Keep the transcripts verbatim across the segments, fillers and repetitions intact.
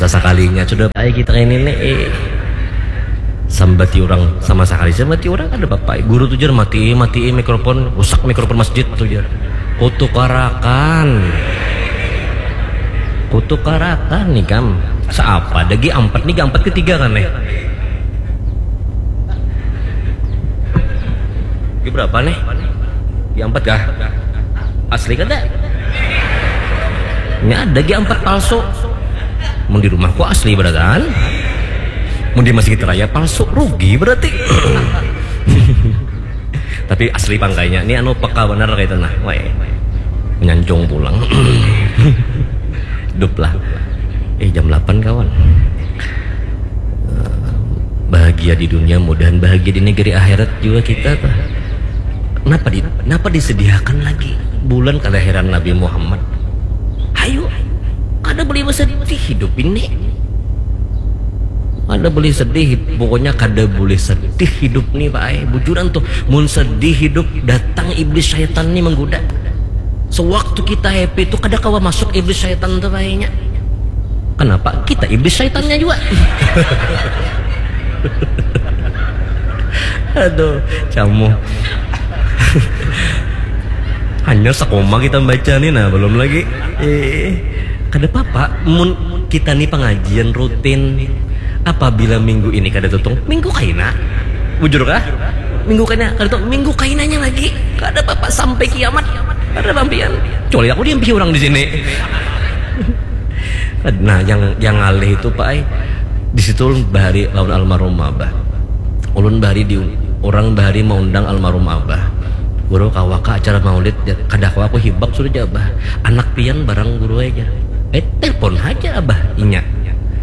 Sasakalinya sudah, ai kita ini nih, eh, sambati orang sama sakali, sambati orang ada apa? Guru tuh jar, mati, mati mikrofon, rusak mikrofon masjid tuh jar. Kutukarakan, kutukarakan nih kam. Seapa ada G empat nih, G empat ketiga kan nih? G berapa nih? G empat kah? Asli kada? Ini ada G empat palsu. Mun di rumahku asli beratan. Mun di Masjid Raya palsu, rugi berarti. Tapi asli pangkainya. Ini anu peka benar kayak itu nah. Wah, nyanjung pulang. Hidup lah. Eh, jam delapan kawan. Eh, bahagia di dunia, mudahan bahagia di negeri akhirat juga kita tuh. Kenapa di, kenapa disediakan lagi bulan kelahiran Nabi Muhammad? Hayu, kada boleh bersedih hidup ini. Kada boleh sedih, pokoknya kada boleh sedih hidup nih, Pak. Eh, bujuran tuh, mun sedih hidup, datang iblis syaitan nih menggoda. Sewaktu kita happy tuh, kada kawa masuk iblis syaitan tuh kayaknya. Kenapa? Kita iblis syaitannya juga. Aduh, camu. Hanya sekoma kita baca nih, nah, belum lagi. Eh, kada apa-apa. Mun kita nih pengajian rutin, apabila minggu ini kada tutung, minggu kaina. Bujur kah? Minggu kaina, kada tutung, minggu kainanya lagi. Kada apa-apa, sampai kiamat. Kada pampian. Kecuali aku diampihi orang di sini. Nah, yang, yang ngalih itu, Pak, ai, di situ ulun bahari lawan almarhum Abah. Ulun bahari di, orang bahari maundang almarhum Abah. Guru, kawa kah acara maulid? Jar, kada kawa, aku hibak sudah, jar Abah. Anak pian barang guru aja. Eh, telepon haja Abah, inya.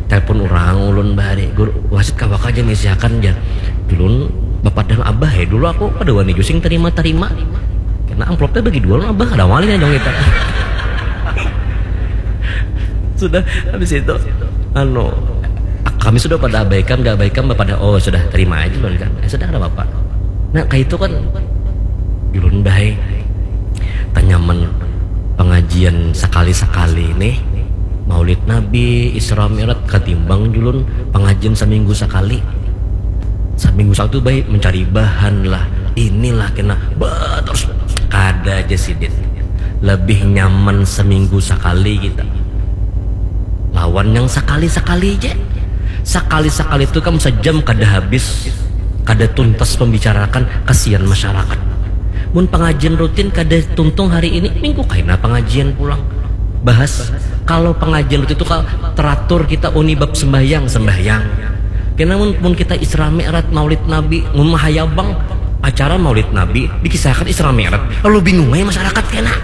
Telepon orang ulun bahari. Guru, wasit kawa kah aja misiakan, jar. Ulun bapadah Abah, eh, dulu aku kada wani jua sing tarima-tarima. Karena amplopnya bagi dua, ulun Abah kada wani nih dong kita. Sudah, habis itu, anu, kami sudah pada abaikan, gak abaikan, pada, oh, sudah, terima aja, ulun kan. Eh, sudah, kada apa-apa. Nah, kayak itu kan, ulun bahai, tanyaman pengajian sekali-sekali nih, Maulid Nabi, Isra Mi'raj, katimbang julun pengajian seminggu sekali. Seminggu satu baik mencari bahan lah, inilah kena, bah, terus kada aja sidin. Lebih nyaman seminggu sekali kita. Lawan yang sekali-sekali aja. Sekali-sekali itu kam sejam kada habis, kada tuntas pembicarakan, kasihan masyarakat. Mun pengajian rutin kada tuntung hari ini, minggu kaina pengajian pulang. Bahas, kalau pengajian rutin itu kalau teratur kita uni bab sembahyang, sembahyang. Kena mun, mun kita Isra Mi'raj, Maulid Nabi, mun mahayabang acara Maulid Nabi dikisahkan Isra Mi'raj, lalu bingung aja masyarakat kena.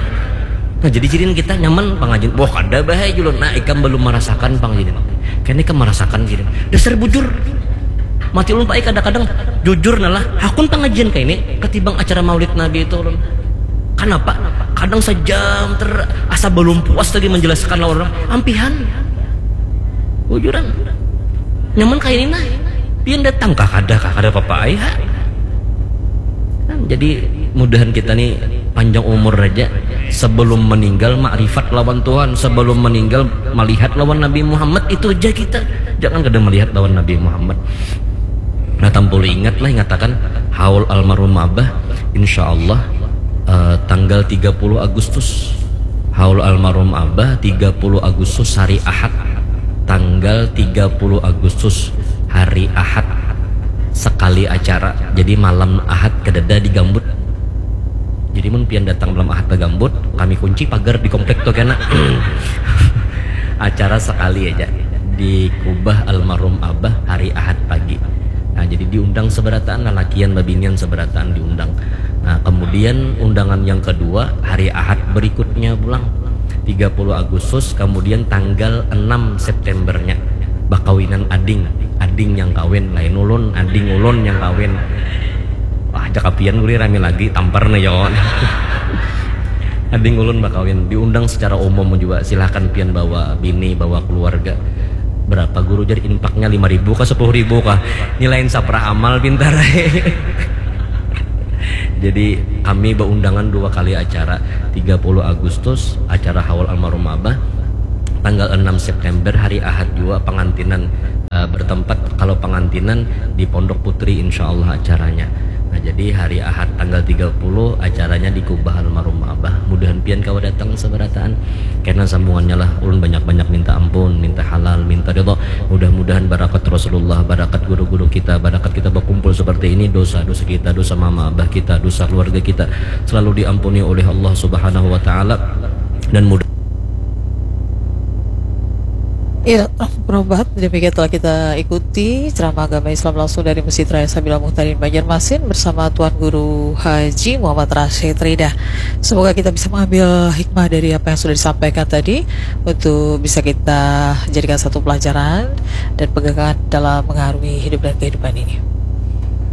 Nah, jadi jirin kita nyaman pengajian. Wah, kada bahaya julun. Nah, ikam belum merasakan pengajian. Kena ikam merasakan jirin. Dasar bujur. Mati ulun, Pak, kadang-kadang jujur nah lah, hakun pengajian kayak ini ketimbang acara Maulid Nabi itu ulun. Kenapa? Kadang sejam ter asa belum puas lagi menjelaskan lawan orang. Ampihan. Bujuran. Nyaman kayak ini nah. Pian datang kah, kada kah, kada apa-apa ai ha. Kan, jadi mudahan kita nih panjang umur aja. Sebelum meninggal makrifat lawan Tuhan, sebelum meninggal melihat lawan Nabi Muhammad, itu aja kita. Jangan kada melihat lawan Nabi Muhammad. Nah, tampulu ingat lah, ingatakan haul almarhum Abah, insya Allah, eh, tanggal tiga puluh Agustus. Haul almarhum Abah tiga puluh Agustus hari Ahad. Tanggal tiga puluh Agustus hari Ahad. Sekali acara. Jadi malam Ahad kadada di Gambut. Jadi mun pian datang malam Ahad ke Gambut, kami kunci pagar di komplek tuh kena. Acara sekali aja di kubah almarhum Abah hari Ahad pagi. Nah, jadi diundang seberataan, lalakian babinian seberataan diundang. Nah, kemudian undangan yang kedua hari Ahad berikutnya pulang, tiga puluh Agustus, kemudian tanggal enam Septembernya bakawinan ading, ading yang kawin, lain ulun, ading ulun yang kawin. Wah, ajak apian guri rami lagi, tampar nih yo. Ading ulun bakawin, diundang secara umum juga, silahkan pian bawa bini, bawa keluarga. Berapa guru, jadi infaknya lima ribu kah, sepuluh ribu kah? Nilaiin saprah amal pintar. Jadi kami beundangan dua kali acara, tiga puluh Agustus acara haul almarhum Abah, Tanggal enam September hari Ahad jua pangantinan, eh, bertempat, kalau pangantinan di Pondok Putri, insya Allah acaranya. Nah, jadi hari Ahad tanggal tiga puluh acaranya di kubah almarhum Abah. Mudahan pian kawa datang sabarataan. Kena sambungannya lah, ulun banyak-banyak minta ampun, minta halal, minta ridho. Mudah-mudahan barakat Rasulullah, barakat guru-guru kita, barakat kita berkumpul seperti ini, dosa-dosa kita, dosa mama abah kita, dosa keluarga kita selalu diampuni oleh Allah Subhanahu wa Ta'ala. Dan mudah Iya, Prof Bahad, demikian telah kita ikuti ceramah agama Islam langsung dari Masjid Raya Sabila Muhtadin Banjarmasin bersama Tuan Guru Haji Muhammad Rashid Rida. Semoga kita bisa mengambil hikmah dari apa yang sudah disampaikan tadi untuk bisa kita jadikan satu pelajaran dan pegangan dalam mengarungi hidup dan kehidupan ini.